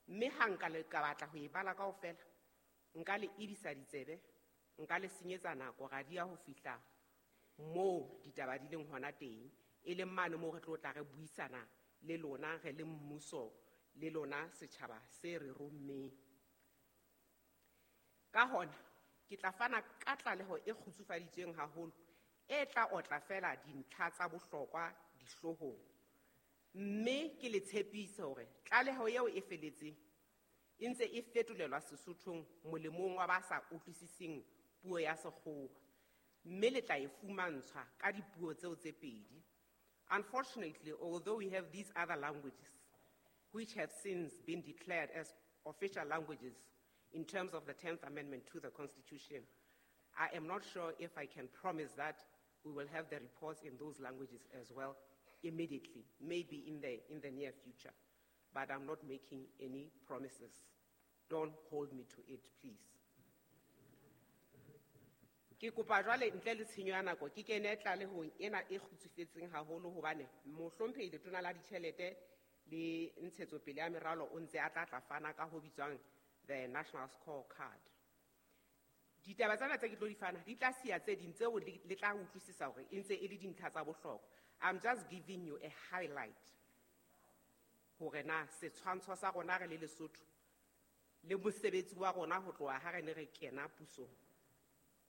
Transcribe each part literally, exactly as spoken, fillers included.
Mme ha nka le ka batla ho e bala kaofela, nka le ebisa ditsebe, nka le senyetsa nako ra dia ho fihla moo ditaba di leng hona teng, e leng mane moo re tlo tla re buisana le lona re le mmuso le lona setjhaba se re rommeng. Ka hona ke tla fana ka tlaleho e kgutsufaditsweng haholo e tla otla fela dintlha tsa bohlokwa dihloohong, mme ke le tshepise hore tlaleho eo e feletseng e ntse e fetolelwa Sesothong molemong wa ba sa utlwisiseng puo ya Sekgowa, mme le tla e fumantshwa ka dipuo tseo tse pedi. Unfortunately, although we have these other languages, which have since been declared as official languages in terms of the tenth Amendment to the Constitution, I am not sure if I can promise that we will have the reports in those languages as well immediately, maybe in the, in the near future. But I'm not making any promises. Don't hold me to it, please. Ke kopa jwale ntle le tshenyo ya nako ke kene tlalehong ena e kgutsufetseng haholo hobane mohlomphehi letona la ditjhelete le ntshetsopele ya meralo o ntse a tla tla fana ka ho bitswang the National Scorecard. Ditaba tsena tse ke tlo di fana di tla siya tse ding tseo le, le tla utlwisisa hore e ntse e le dintlha tsa bohlokwa. I'm just giving you a highlight hore na setshwantsho sa rona re le Lesotho le mosebetsi wa rona ho tloha ha re ne re kena pusong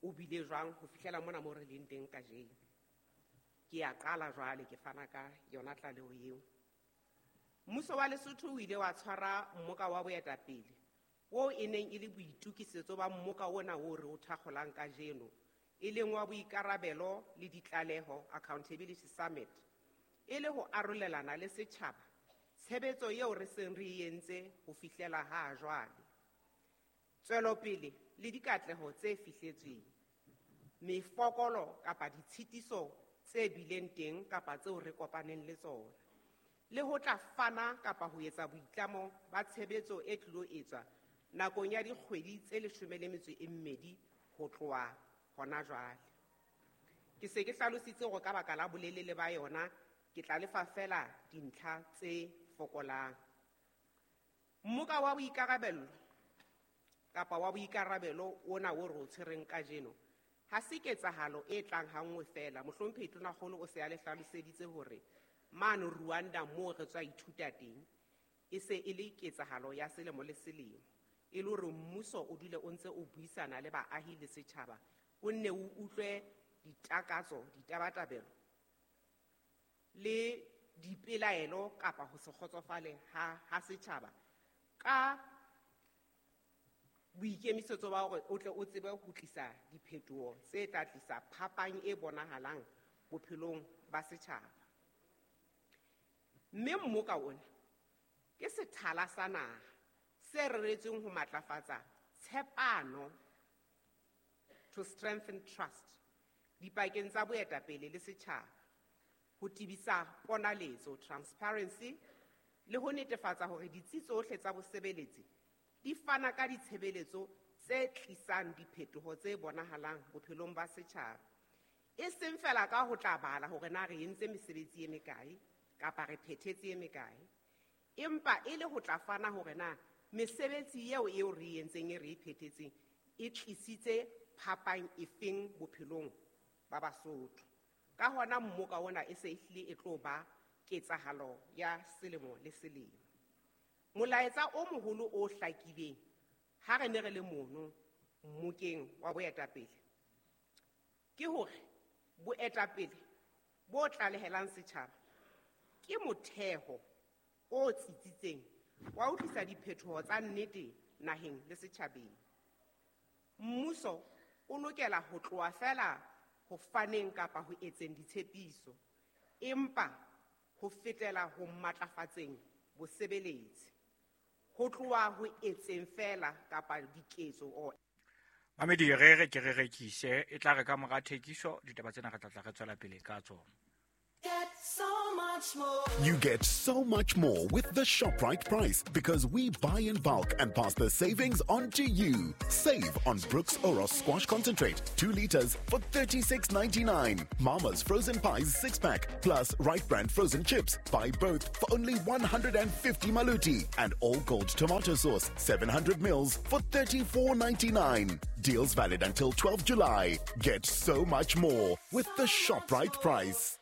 o bile jwang ho fihlela mona mo re leng teng kajeno. Ke a qala jwale ke fana ka yona tlaleho eo. Mmuso wa Lesotho o ile wa tshwara mmoka wa boetapele oo e neng e le boitokisetso ba mmoka ona o re o thakgolang kajeno, e leng wa boikarabelo le ditlaleho Accountability Summit, e le ho arolelana le setjhaba tshebetso eo re seng re e entse ho fihlela ha jwale, tswelopele le dikatleho tse fihletsweng, mefokolo kapa ditshitiso tse bileng teng kapa tseo re kopaneng le tsona, le ho tla fana kapa ho etsa boitlamo ba tshebetso e tlilo etswa nakong ya dikgwedi tse leshome le metso e mmedi ho tloha hona jwale. Ke se ke hlalositse hore ka baka la bolelele ba yona ke tla lefa fela dintlha tse fokolang. Mmoka wa boikarabello kapa wa boikarabelo ona o re o tshwereng kajeno ha se ketsahalo e tlang hanngwe fela. Mohlomphehi Tonakgolo o se a le hlaloseditse hore mane Rwanda moo re tswa ithuta teng e se e le ketsahalo ya selemo le selemo, e le hore mmuso o dule o ntse o buisana le baahi le setjhaba, o nne o utlwe ditakatso, ditabatabelo le dipelaelo kapa ho se kgotsofale ha, ha setjhaba ka boikemisetso ba hore o tle o tsebe ho tlisa diphetoho tse tla tlisa phapang e bonahalang bophelong ba setjhaba. Mme mmoka ona ke sethala sa naha se reretsweng ho matlafatsa tshepano, to strengthen trust, dipakeng tsa boetapele le setjhaba, ho tebisa ponaletso, transparency, le ho netefatsa hore ditsi tsohle tsa bosebeletsi di fana ka ditshebeletso tse tlisang diphetoho tse bonahalang bophelong ba setjhaba, e seng fela ka ho tla bala hore na re entse mesebetsi e mekae kapa re phethetse e mekae, empa e le ho tla fana hore na mesebetsi eo eo re e entseng e re e phethetseng e tlisitse phapang efeng bophelong ba Basotho. Ka hona mmoka ona e se e hlile e tlo ba ketsahalo ya selemo le selemo. Molaetsa o moholo o hlakileng ha re ne re le mono mmokeng wa boetapele ke hore boetapele bo tlalehelang setjhaba ke motheo o tsitsitseng wa ho tlisa diphetoho tsa nnete naheng le setjhabeng. Mmuso o lokela ho tloha fela ho faneng kapa ho etseng ditshepiso, empa ho fetela ho matlafatseng bosebeletsi, ho tloha ho etseng fela kapa diketso o Mamedi, re re ke re rekise e tla re ka mora thekiso ditaba tsena re tla tla re tswela pele ka tsona. Get so much much more. You get so much more with the ShopRite price because we buy in bulk and pass the savings on to you. Save on Brooks Oros Squash Concentrate, two liters for thirty-six ninety-nine. Mama's Frozen Pies six pack plus Right Brand Frozen Chips. Buy both for only one hundred and fifty maluti. And All Gold Tomato Sauce, seven hundred mils for thirty-four ninety-nine. Deals valid until twelfth July. Get so much more with the ShopRite price.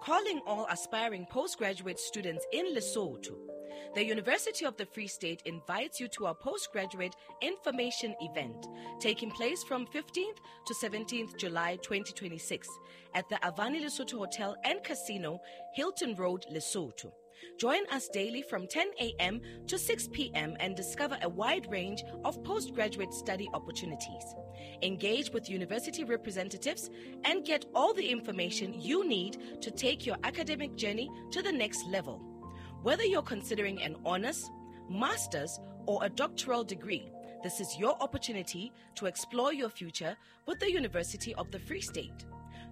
Calling all aspiring postgraduate students in Lesotho. The University of the Free State invites you to our postgraduate information event taking place from fifteenth to seventeenth July twenty twenty-six at the Avani Lesotho Hotel and Casino, Hilton Road, Lesotho. Join us daily from ten a.m. to six p.m. and discover a wide range of postgraduate study opportunities. Engage with university representatives and get all the information you need to take your academic journey to the next level. Whether you're considering an honors, master's, or a doctoral degree, this is your opportunity to explore your future with the University of the Free State.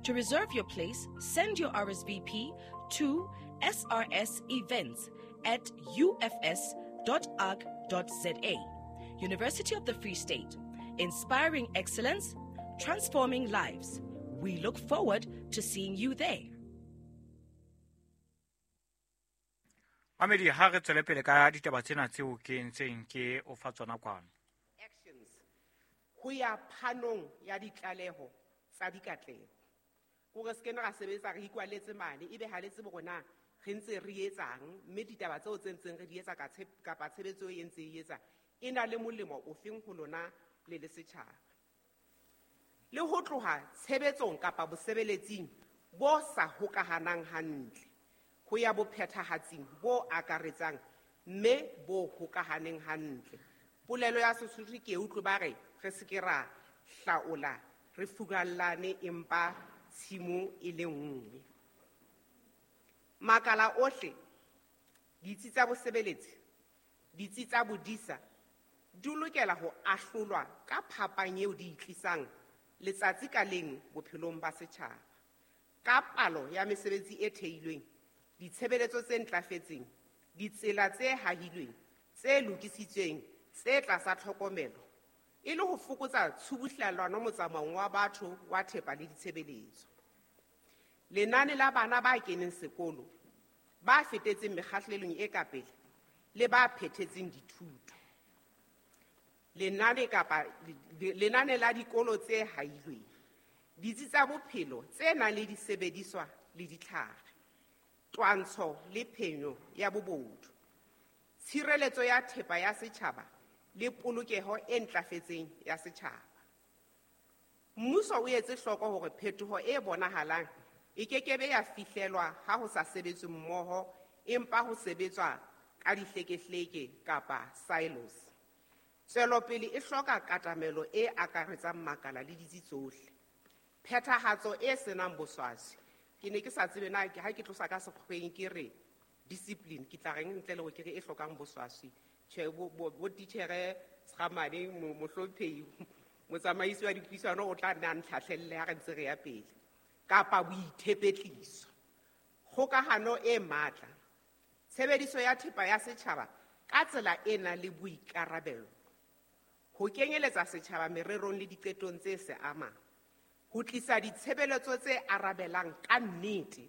To reserve your place, send your R S V P to S R S events at U F S dot org dot Z A. University of the Free State, inspiring excellence, transforming lives. We look forward to seeing you there. Mamedi, ha re tswele pele ka ditaba tsena tseo ke ntseng ke o fa tsona kwano. Actions. Ho ya phanong ya ditlaleho tsa dikatleho. Hore se kene ra sebetsa re ikwaletse mane, ebe ha le tsebe hore na re ntse re etsang, mme ditaba tseo tse ntseng re di etsa ka tshep-, kapa tshebetso e ntse e etsa, e na le molemo ofeng ho lona le le setjhaba. Le ho tloha tshebetsong kapa bosebeletsing bo sa hokahanang hantle, ho ya bophethahatsing bo akaretsang mme bo hokahaneng hantle. Polelo ya Sesotho ke e utlwe ba re, re se ke ra hlaola, re furallane empa tshimo e le nngwe. Makala ohle, ditsi tsa bosebeletsi, ditsi tsa bodisa, di lokela ho ahlolwa ka phapang eo di e tlisang letsatsi ka leng bophelong ba setjhaba. Ka palo ya mesebetsi e theilweng, ditshebeletso tse ntlafetseng, ditsela tse hahilweng, tse lokisitsweng, tse tlasa tlhokomelo, e le ho fokotsa tshubuhlellano motsamaong wa batho wa thepa le ditshebeletso. Lenane la bana ba keneng sekolo, ba fetetseng mekgahlelong e ka pele le ba phethetseng dithuto. Lenane kapa, lenane la dikolo tse hailweng, ditsi tsa bophelo tse nang le disebediswa le ditlhare, twantsho le phenyo ya bobodu, tshireletso ya thepa ya setjhaba le polokeho e ntlafetseng ya setjhaba. Mmuso o etse hloko hore phetoho e bonahalang e kekebe ya fihlelwa ha ho sa sebetswe mmoho, empa ho sebetswa ka dihlekehleke kapa silos. Tswelopele e hloka katamelo e akaretsang makala le ditsi tsohle. Phethahatso e senang boswaswi. Ke ne ke sa tsebe na ha ke tlosa ka sekgweng ke re discipline, ke tla reng ntle le hore ke re e hlokang boswaswi. Tjhe, bo, bo, bo titjhere Sgamane, mo-, mohlomphehi, motsamaisi wa dipuisano o tla nna a ntlhahlelle ha re ntse re ya pele. Kapa boithepetliso. Kgokahano e matla. Tshebediso ya thepa ya setjhaba ka tsela e nang le boikarabelo. Ho kenyeletsa setjhaba mererong le diqetong tse se amang. Ho tlisa ditshebeletso tse arabelang ka nnete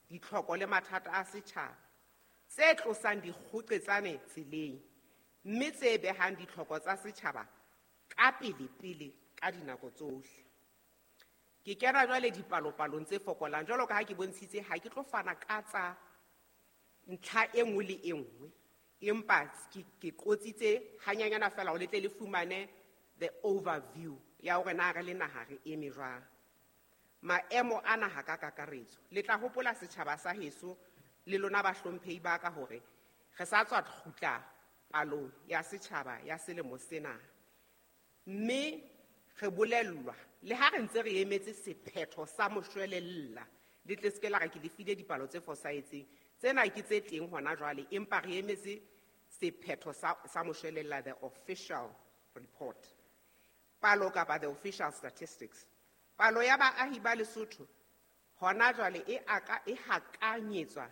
ditlhoko le mathata a setjhaba, tse tlosang dikgoqetsane tseleng, mme tse behang ditlhoko tsa setjhaba ka pele-pele ka dinako tsohle. Ke kena jwale dipalopalong tse fokolang, jwalo ka ha ke bontshitse, ha ke tlo fana ka tsa ntlha e nngwe le e nngwe, empa ke, ke qotsitse hanyanyana feela hore le tle le fumane the overview ya hore na re le naha re eme jwang. Maemo a naha ka kakaretso. Le tla hopola setjhaba sa heso le lona bahlomphehi ba ka hore re sa tswa kgutla palong ya setjhaba ya selemo sena. Mme re bolellwa le ha re ntse re emetse sephetho sa moshwelella, le tle se ke la re ke le file dipalo tse fosahetseng. Tsena ke tse teng hona jwale, empa re emetse sephetho sa, sa moshwelella, the official report. Palo kapa the official statistics. Palo ya baahi ba Lesotho hona jwale e aka e hakanyetswa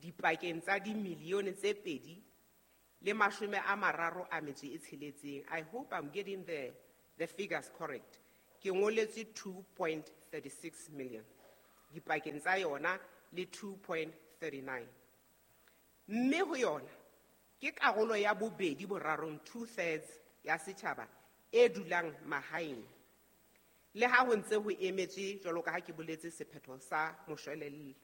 dipakeng tsa dimilione tse pedi le mashome a mararo a metso e tsheletseng. I hope I'm getting the, the figures correct. Ke ngoletswe two point three six million dipakeng tsa yona le two point three nine. Mme ho yona ke karolo ya bobedi borarong, two thirds ya setjhaba e dulang mahaeng. Le ha ho ntse ho emetswe jwalo ka ha ke boletse sephetho sa moshwelella.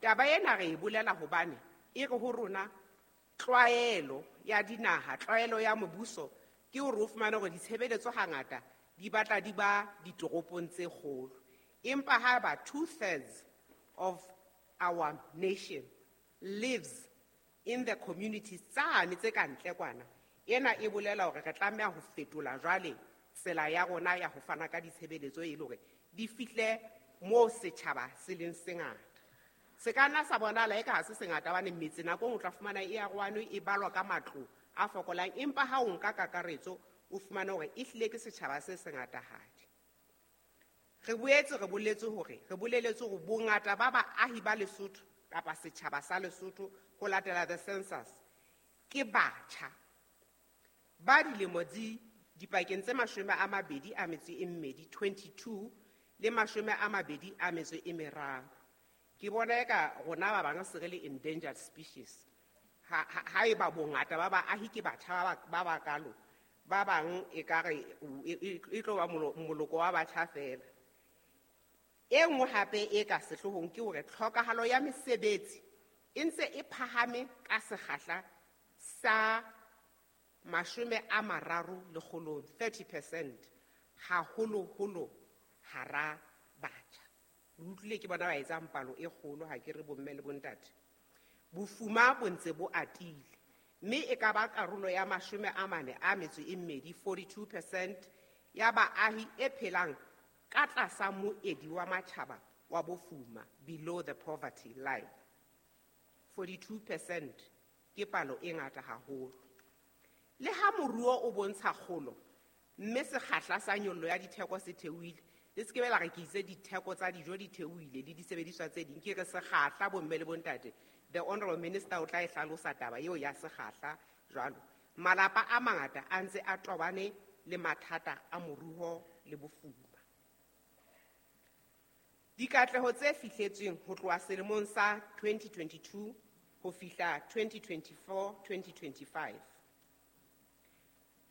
Taba ena re e bolela hobane e re ho rona tlwaelo ya dinaha, tlwaelo ya mobuso ke hore o fumane hore ditshebeletso hangata di batla di ba ditoropong tse kgolo. Empa ha ba two thirds of our nation lives in the communities tsane tse ka ntle kwana, ena e bolela hore re tlameha ho fetola jwale tsela ya rona ya ho fana ka ditshebeletso e le hore di fihle moo setjhaba se leng sengata. Se ka nna sa bonahala eka ha se sengata hobane metse nako e nngwe o tla fumana e arohane, e balwa ka matlo a fokolang, empa ha o nka kakaretso o fumane hore e hlile ke setjhaba se sengatahadi. Re boetse re boletse hore, re boleletse hore bongata ba baahi ba Lesotho kapa setjhaba sa Lesotho ho latela the census ke batjha ba dilemo di dipakeng tse mashome a mabedi a metso e mmedi, twenty-two le mashome a mabedi a metso e meraro. Ke bona eka rona ba bang se re le endangered species. Ha, ha, ha eba bongata ba baahi ke batjha ba, ba bakalo, ba bang ekare e, e, e tlo ba molo-, moloko wa batjha feela. E nngwe hape e ka sehloohong ke hore tlhokahalo ya mesebetsi e ntse e phahame ka sekgahla sa mashome a mararo lekgolong, thirty percent, haholoholo hara batjha. Le utlwile ke bona ba etsang palo e kgolo, ha ke re bomme le bontate. Bofuma bo ntse bo atile, mme e ka ba karolo ya mashome a mane a metso e mmedi, forty-two percent ya baahi e phelang ka tlasa moedi wa matjhaba wa bofuma, below the poverty line. forty-two percent ke palo e ngata haholo. Le ha moruo o bontsha kgolo, mme sekgahla sa nyollo ya ditheko se theohile, le se ke be la re ke itse ditheko tsa dijo di theohile le disebediswa tse ding, ke re sekgahla bomme le bontate. The Honorable Minister o tla e hlalosa taba eo ya sekgahla jwalo. Malapa a mangata a ntse a tobane le mathata a moruo le bofuma. Dikatleho tse fihletsweng ho tloha selemong sa twenty twenty-two ho fihla twenty twenty-four, twenty twenty-five.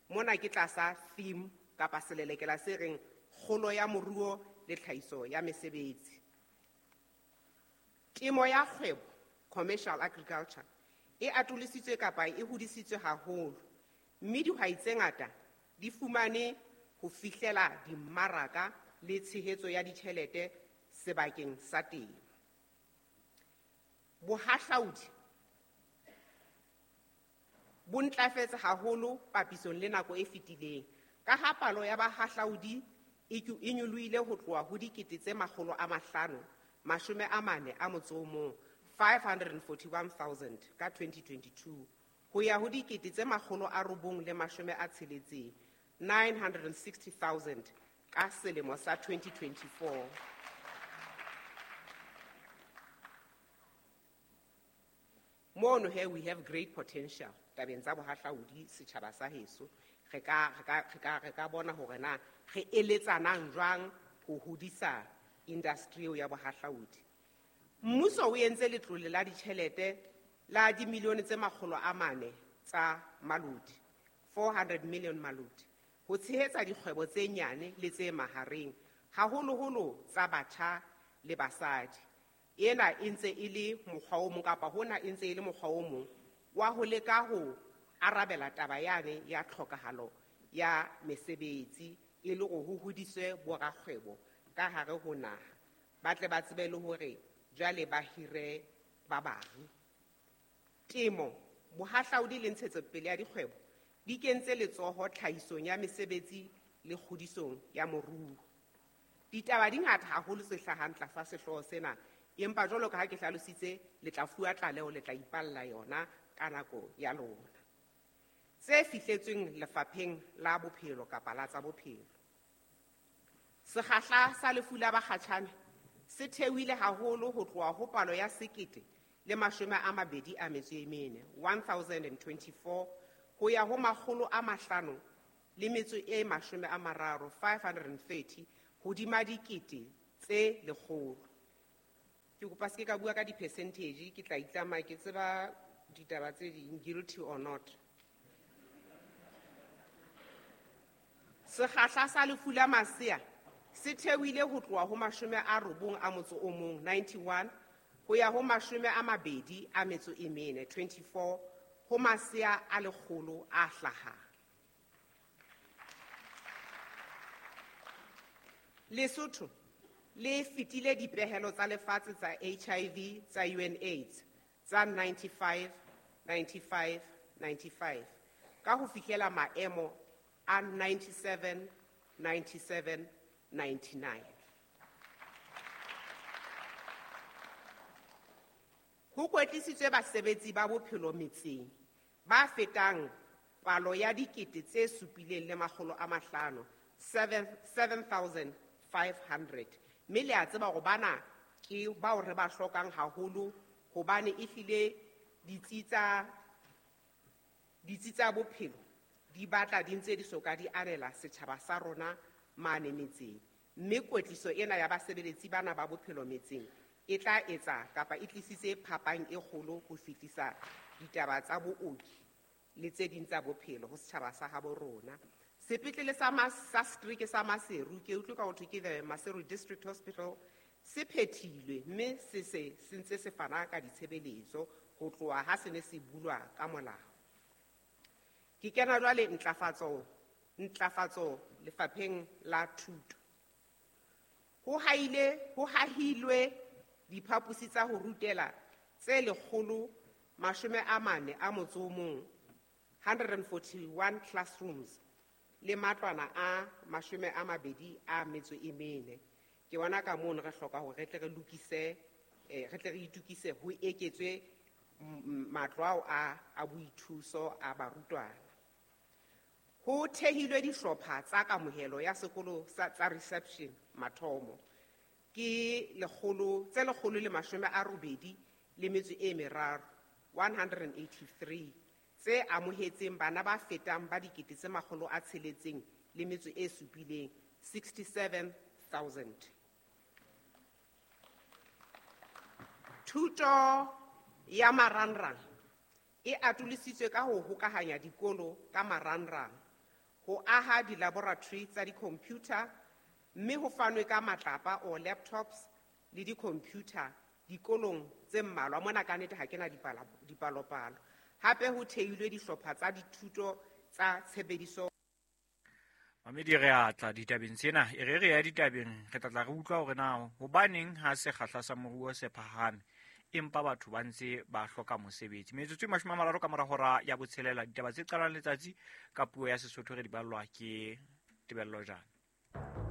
Mona ke tlasa theme kapa selelekela se reng kgolo ya moruo le tlhahiso ya mesebetsi. Temo ya kgwebo, commercial agriculture, e atolositswe kapa e hodisitswe haholo, mme dihwai tse ngata di fumane ho fihlela dimmaraka le tshehetso ya ditjhelete sebakeng sa temo. Bohahlaudi bo ntlafetse haholo papisong le nako e fetileng, ka ha palo ya bahahlaudi e ke-, e nyolohile ho tloha ho dikete tse makgolo a mahlano, mashome a mane a motso o mong, five hundred and forty-one thousand ka twenty twenty-two, ho ya ho dikete tse makgolo a robong le mashome a tsheletseng, nine hundred and sixty thousand ka selemo sa twenty twenty-four. Mono here we have great potential tabeng tsa bohahlaudi setjhaba sa heso. Re ka, re ka, re ka, re ka bona hore na re eletsanang jwang ho hodisa industry eo ya bohahlaudi. Mmuso o entse letlole la ditjhelete la dimilione tse makgolo a mane tsa malodi, four hundred million malodi, ho tshehetsa dikgwebo tse nyane le tse mahareng, haholoholo tsa batjha le basadi. Ena e ntse e le mokgwa o mong kapa hona e ntse e le mokgwa o mong wa ho leka ho arabela taba yane ya tlhokahalo ya mesebetsi e le hore ho hodiswe borakgwebo ka hare ho naha, ba tle ba tsebe le hore jwale ba hire ba bang. Temo, bohahlaudi le ntshetsopele ya dikgwebo di kentse letsoho tlhahisong ya mesebetsi le kgodisong ya moruo. Ditaba di ngata haholo tse hlahang tlasa sehlooho sena, empa jwalo ka ha ke hlalositse, le tla fuwa tlaleho, le tla ipalla yona ka nako ya lona. tse fihletsweng lefapheng la bophelo kapa la tsa bophelo. Sekgahla sa lefu la bakgatjhane se theohile haholo ho tloha ho palo ya sekete le mashome a mabedi a metso e mene, one thousand and twenty-four, ho ya ho makgolo a mahlano le metso e mashome a mararo, five hundred and thirty, hodima dikete tse lekgolo. Ke kopa se ke ka bua ka di-percentage, ke tla itlama ke tseba ditaba tse ding, guilty or not. Sekgahla sa lefu la masea se theohile ho tloha ho mashome a robong a motso o mong, ninety-one, ho ya ho mashome a mabedi a metso e mene, twenty-four, ho masea a lekgolo a hlahang. Lesotho le fetile dipehelo tsa lefatshe tsa H I V tsa U N AIDS tsa ninety-five, ninety-five, ninety-five ka ho fihlela maemo a ninety-seven, ninety-seven, ninety-nine. Ho kwetlisitswe basebetsi ba bophelo metseng ba fetang palo ya dikete tse supileng le makgolo a mahlano, seven, seven thousand five hundred. Mme le a tseba hore bana ke bao re ba hlokang haholo hobane ehlile ditsi tsa, ditsi tsa bophelo di batla di ntse di soka di anela setjhaba sa rona mane metseng. Mme kwetliso ena ya basebeletsi bana ba bophelo metseng e tla etsa kapa e tlisitse phapang e kgolo ho fetisa ditaba tsa booki le tse ding tsa bophelo ho setjhaba sa habo rona. Sepetlele sa Mas-, sa setereke sa Maseru, ke utlwe ka ho thwe ke the Maseru District Hospital, se phethilwe mme se se se ntse se fana ka ditshebeletso ho tloha ha se ne se bulwa ka molao. Ke kena jwale ntlafatso, ntlafatso lefapheng la thuto. Ho haile, ho hahilwe diphaposi tsa ho rutela tse lekgolo mashome a mane a motso o mong, hundred and forty-one classrooms, le matlwana a mashome a mabedi a metso e mene. Ke bona ka mono re hloka hore re tle re lokise, eh, re tle re itukise ho eketswe m-, m-, matlo ao a, a boithuso a barutwana. Ho thehilwe dihlopha tsa kamohelo ya sekolo sa, tsa reception mathomo. Ke lekgolo, tse lekgolo le mashome a robedi le metso e meraro, one hundred and eighty-three, tse amohetseng bana ba fetang ba dikete tse makgolo a tsheletseng le metso e supileng, sixty-seven thousand. Thuto ya marangrang e atolositswe ka ho hokahanya dikolo ka marangrang, ho aha di-laboratory tsa di-computer, mme ho fanwe ka matlapa or laptops le di-computer dikolong tse mmalwa. Mona ka nnete ha ke na dipala-, dipalopalo. Hape ho theilwe dihlopha tsa dithuto tsa tshebediso. Mamedi, re a tla ditabeng tsena, e re re ya ditabeng, re tla tla re utlwa hore na hobaneng ha sekgahla sa moruo se phahame empa batho ba ntse ba hloka mosebetsi. Metsotso e mashome a mararo ka mora hora ya botshelela, ditaba tse qalang letsatsi ka puo ya Sesotho re di ballwa ke Tebello Jane.